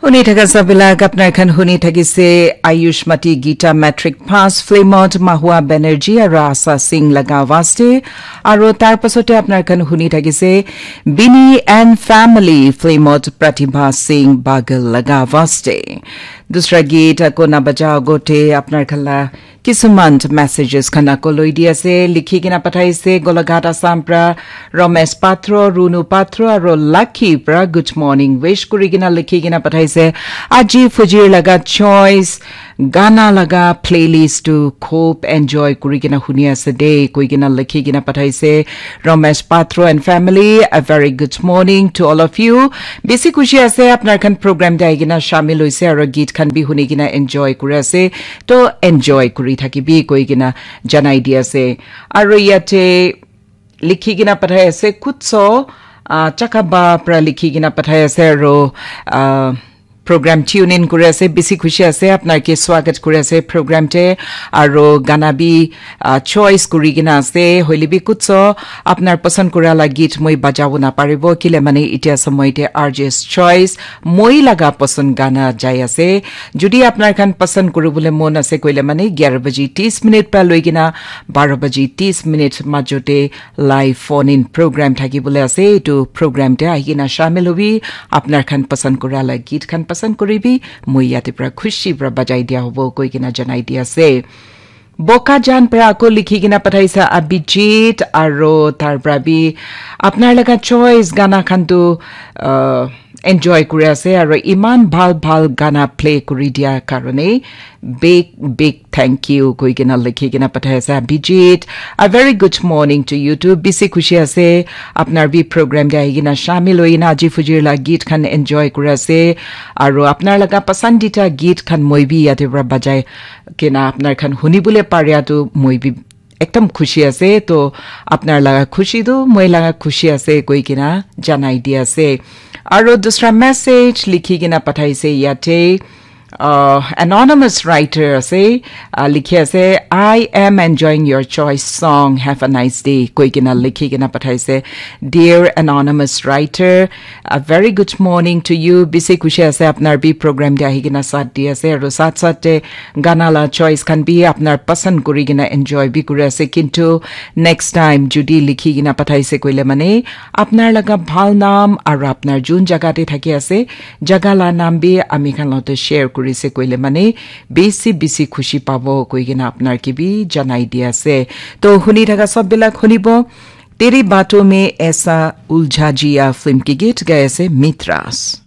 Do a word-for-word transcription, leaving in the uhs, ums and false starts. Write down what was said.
Huni thaka sabilak apnar khan huni thakise Ayushmati Gita Matric Pass filmot Mahua Banerjee aro Asa Singh laga awaste, aro tar pasote apnar khan huni thakise Bini and Family filmot Pratibha Singh Bagal laga awaste. Dusra geet ako na baja agote apnar khan la kisuman messages khan ako loi di ase, likhi kena pathaise Golaghat Assam pra Ramesh Patro, Runu Patro aro Lucky pra good morning wish kuri kena likhi kena pathaise. Aji fujir laga choice gana laga playlist tu khub enjoy kuri kena huni ase de koi kena likhi kena pathaise. Ramesh Patro and family, a very good morning to all of you. Bisi khushi ase apnar khan program te ahi kena shamil hoise aro geet khan bi huni kena enjoy kuri ase. To enjoy kuri thakibi koi kena janai di ase. Aro yate likhi kena pathai ase Kutso, ah, Chakaba pra likhi kena pathai ase aro, ah, program tune in kuri ase, bisi khushi ase apnar ke swagat kuri ase program te, aro gana bi, ah, choice kuri kena ase, hoile bi Kutso apnar pasand kura la geet moi bajabo na paribo kile mane itia samoi te R J's choice moi laga pasand gana jai ase. Jodi apnar khan pasand kuribole mon ase koile mane gyara baji tis minute pra loi kena baro baji tis minute majote live phone in program thaki bole ase. Etu program te ahi kena shamil hobi, apnar khan pasand kura la geet khan pasand kuribi, moi yate pra khushi pra bajai dia hobo koi kena janai di ase. Bokajan pra ako likhi kena pathaisa Abhijit aro tar pra bi apnar laga choice gana khan tu, uh, enjoy kuri ase aro iman bhal bhal gana play kuri dia karone big big thank you koi kena likhi kena pathai ase Abhijit. A very good morning to you too. Bisi khushi ase apnar bi program te ahi kena shamil hoi kena aji fujir la geet khan enjoy kuri ase aro apnar laga pasandita geet khan moi bi yate pra bajai kena apnar khan huni bole paria tu moi bi ekdam khushi ase. To apnar laga khushi tu moi laga khushi ase koi kena janai di ase. Aro dusra message likhi kena pathaise yate, uh, anonymous writer ase, uh, likhi ase, "I am enjoying your choice song. Have a nice day," koi kena likhi kena pathaise. Dear anonymous writer, a very good morning to you. Bisi khushi ase apnar bi program te ahi kena sat di ase aro sat sat te gana la choice khan bi apnar pasand kuri kena enjoy bi kuri ase, kintu next time jodi likhi kena pathaise koile mane apnar laga bhal nam aro apnar jun jaga te thaki ase jaga la nam bi ami khan lote share kuri se koile mane bisi bisi khushi pabo koi kena apnar ke bi janai di ase. To huni thaka sob bilak hunibo Tere Baaton Mein Aisa Uljha Jiya film ke geet gai ase Mitras.